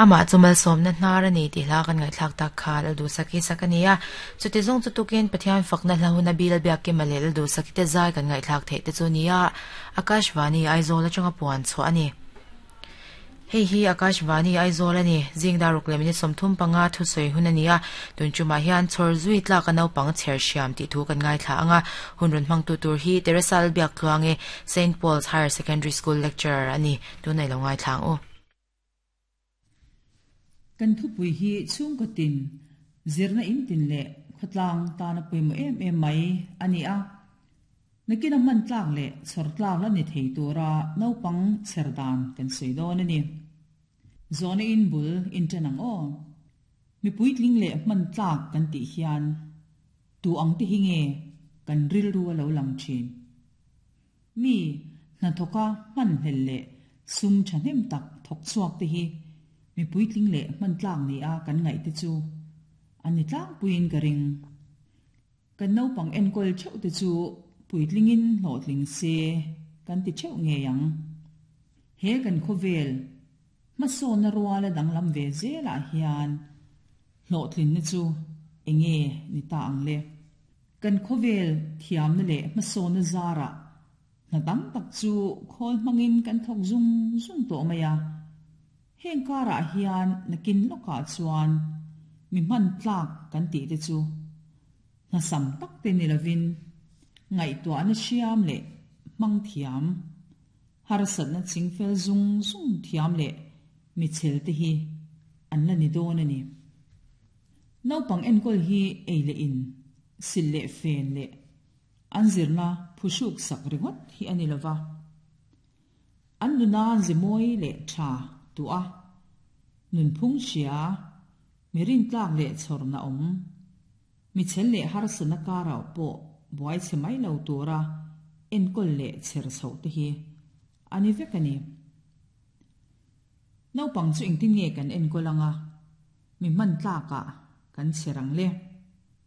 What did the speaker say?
Amah chu malsawmna hnar a ni tih hla kan ngaihthlak tak kha Lalduhsaki sak a ni a. Chuti zawng chu tukin Pathian fakna hla huna Bil Biakkima leh Lalduhsaki te zai kan ngaihthlak theih te chu a ni a, Akashvani Aizawl atanga puan chhuah a ni. Hei hi Akashvani Aizawl a ni. Zing dar ruk leh minute 35 thusawi hun a ni a, tun tumah hian chhawr zui tlak a naupang chher hriam tih thu kan ngaithla ang a. Hun rawn hmangtu tur hi Teresa Lalbiaktluangi, Saint Paul's Higher Secondary School lecturer a ni. Tunah i lo ngaithla ang u. Kan thupui hi chhungkaw tin, zirna in tin leh khawtlang tana pawimawh em em mai a ni a. Nakina hman tlak leh chhawr tlak la ni thei tura naupang chher dan kan sawi dawn a ni. Zawhna in bul in ṭan ang aw. Mi puitling leh hman tlak kan tih hian tu ang te hi nge kan rilru a lo lang ṭhin? Mi hnathawka hmanhlel leh sum thahnem tak thawk chhuak te hi mi puitling leh hman tlak ni a kan ngaih te chu an ni tlangpuiin ka ring. Kan naupang enkawl theuh te chu puitlingin hlawhtling se kan ti theuh ngei ang. He kan khawvel hmasawnna ruala danglam ve zelah hian hlawhtlinna chu enge ni ta ang le? Kan khawvel thiamna leh hmasawnna zarah hna tam tak chu khawl hmangin kan thawk zung zung tawh mai a. Heng karah hian nakin lawkah chuan mi hman tlak kan tih te chu hna sam tak te ni lovin ngaihtuahna hriam leh hmang thiam, harsatna chingfel zung zung thiam leh michel te hi an la ni dawn a ni. Naupang enkawl hi ei leh in, sil leh fen leh an zirna phuhruk sak ringawt hi a ni lova. An nuna ze mawi leh tha tuah a, nunphung hria, mi rintlak leh chhawrna awm, mi chhel leh harsatna karah pawh buai chhe mai lo tura enkawl leh chher chhoh te hi a ni vek a ni. Naupang chu engtin nge kan enkawl anga mi hman tlakah kan chher ang le?